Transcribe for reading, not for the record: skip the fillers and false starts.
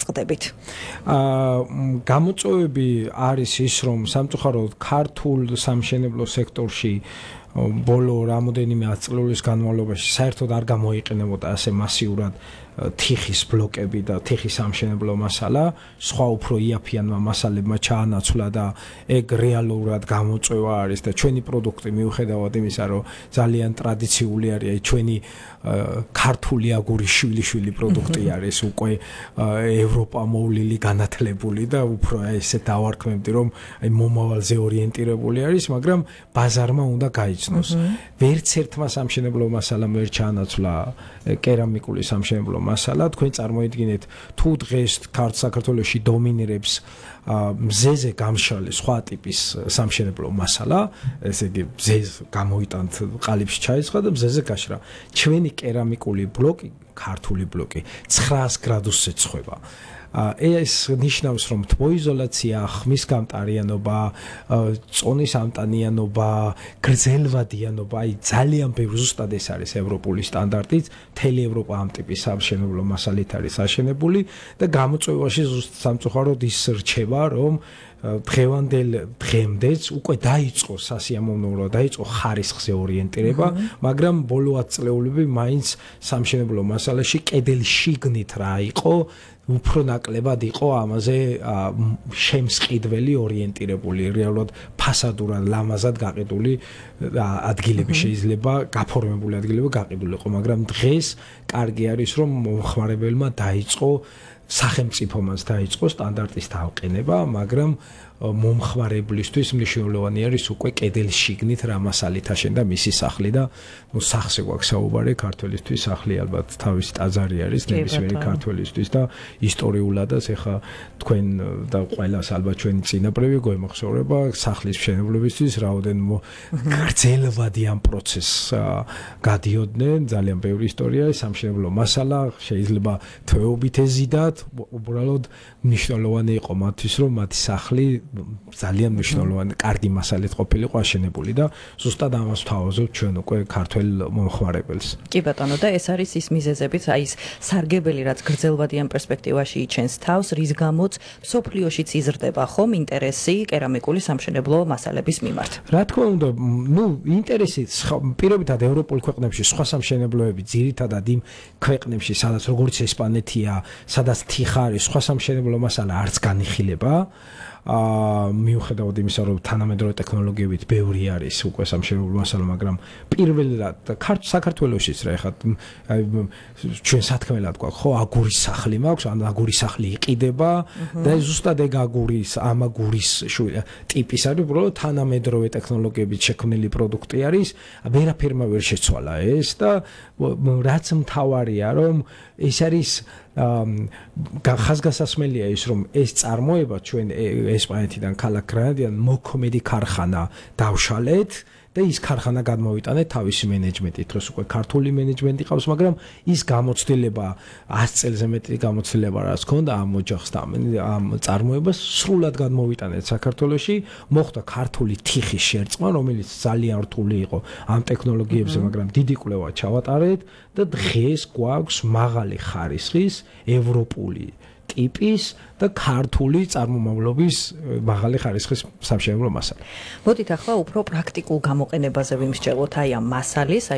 წყდებით. გამოწვევები არის ის, რომ სამწუხაროდ ქართულ სამშენებლო სექტორში ბოლო რამოდენიმე ათწლეულის განმავლობაში საერთოდ არ გამოიყენებოდა ასე მასიურად თიხის ბლოკები და თიხის სამშენებლო მასალა, სხვა უფრო იაფიანმა მასალებმა ჩაანაცვლა და ეგ რეალურად გამოწვევა არის და ჩვენი პროდუქტი მიუხედავად იმისა, რომ ძალიან ტრადიციული არის, ჩვენი ქართული აგურის შვილიშვილი პროდუქტი არის უკვე ევროპა მოვლილი განათლებული და უფრო ესე დავარქმევდი, რომ მომავალზე ორიენტირებული არის, მაგრამ ბაზარმა უნდა გაიცნოს. ვერც ერთმა სამშენებლო მასალამ ვერ ჩაანაცვლა კერამიკული სამშენებლო მასალა. თქვენ წარმოიდგინეთ, თუ დღეს საქართველოში დომინირებს მზეზე გამშრალი სხვა ტიპის სამშენებლო მასალა, ესე იგი მზეს გამოიტანთ ყალიბში ჩაიცხა და მზეზე გაშრა. ჩვენი კერამიკული ბლოკი, ქართული ბლოკი 900 გრადუსზე ცხვება. ეს ნიშნავს, რომ თბოიზოლაცია, ხმის გამტარიანობა, წონის ამტანიანობა, გრძელვადიანობა, ძალიან ბევრი ზუსტად ეს არის ევროპული სტანდარტით, მთელი ევროპა ამ ტიპის სამშენებლო მასალით არის აშენებული და გამოწვევაში ზუსტად სამწუხაროდ ის რჩება, რომ დღევანდელ დღემდეც უკვე დაიწყო სასიამოვნო, დაიწყო ხარისხზე ორიენტირება, მაგრამ ბოლო 10 წლეულები მაინც სამშენებლო მასალაში კედელი შიგნით რა იყო, უფრო ნაკლებად იყო ამაზე შემსყიდველი ორიენტირებული, რეალურად ფასადურად ლამაზად გაყიდული ადგილები შეიძლება, გაფორმებული ადგილები გაყიდული იყო, მაგრამ დღეს კარგი არის, რომ მომხმარებელმა დაიწყო სახელმწიფომაც დაიწყო სტანდარტის დავყენება, მაგრამ მომხმარებლისთვის მნიშვნელოვანი არის უკვე კედლის შიგნით რა მასალით აშენდა მისი სახლი და სახზე გვაქვს საუბარი, ქართველისთვის სახლი ალბათ თავისი ტაძარი არის ნებისმიერი ქართველისთვის და ისტორიულადაც ეხა თქვენ და ყველას ალბათ ჩვენი წინაპრები გვემახსოვრება სახლის მშენებლობისთვის რაოდენ გრძელვადიან პროცესს გადიოდნენ, ძალიან ბევრი ისტორია, სამშენებლო მასალა შეიძლება თვეობით ეზიდათ, უბრალოდ მნიშვნელოვანი იყო მათთვის, რომ მათი სახლი ძალიან მნიშვნელოვანი, კარგი მასალით ყოფილიყო აშენებული და ზუსტად ამას ვთავაზობთ ჩვენ უკვე ქართველ მომხმარებელს. კი ბატონო, და ეს არის ის მიზეზებით, აი ეს სარგებელი, რაც გრძელვადიან პერსპექტივაში იჩენს თავს, რის გამოც მსოფლიოშიც იზრდება ხომ ინტერესი კერამიკული სამშენებლო მასალების მიმართ. რა თქმა უნდა, ინტერესი პირობითად ევროპულ ქვეყნებში სხვა სამშენებლოები ძირითადად იმ ქვეყნებში, სადაც როგორც ესპანეთია, სადაც თიხა არის, სხვა სამშენებლო მასალა არც განიხილება. მიუხედავად იმისა, რომ თანამედროვე ტექნოლოგიებით ბევრი არის უკვე სამშენებლო მასალა, მაგრამ პირველად საქართველოშიც რა ეხლა ჩვენ სათქმელად გვაქვს, ხო, აგურის სახლი მაქვს, ან აგურის სახლი იყიდება და ზუსტად ეგ ამ აგურის ტიპის არის, უბრალოდ თანამედროვე ტექნოლოგიებით შექმნილი პროდუქტი არის, ვერაფერმა ვერ შეცვალა ეს და რაც მთავარია, რომ ეს არის ხაზგასასმელია ის, რომ ეს წარმოება ჩვენ ესპანეთიდან ქალაქ გრანადიდან მოქმედი ქარხანა დავშალეთ და ის ქარხანა გადმოვიტანეთ თავისი მენეჯმენტით, დროს უკვე ქართული მენეჯმენტი ყავს, მაგრამ ის გამოცდილება 100 წელზე მეტი გამოცდილება რაც ჰქონდა ამ ოჯახს და ამ წარმოებას სრულად გადმოვიტანეთ საქართველოში, მოხდა ქართული თიხის შერწყმა, რომელიც ძალიან რთული იყო ამ ტექნოლოგიებზე, მაგრამ დიდი კვლევა ჩავატარეთ და დღეს გვაქვს მაღალი ხარისხის ევროპული ტიპის და ქართული წარმომავლობის მაღალი ხარისხის სამშენებლო მასალა. მოდით ახლა უფრო პრაქტიკულ გამოყენებაზე ვიმსჯელოთ აი ამ მასალის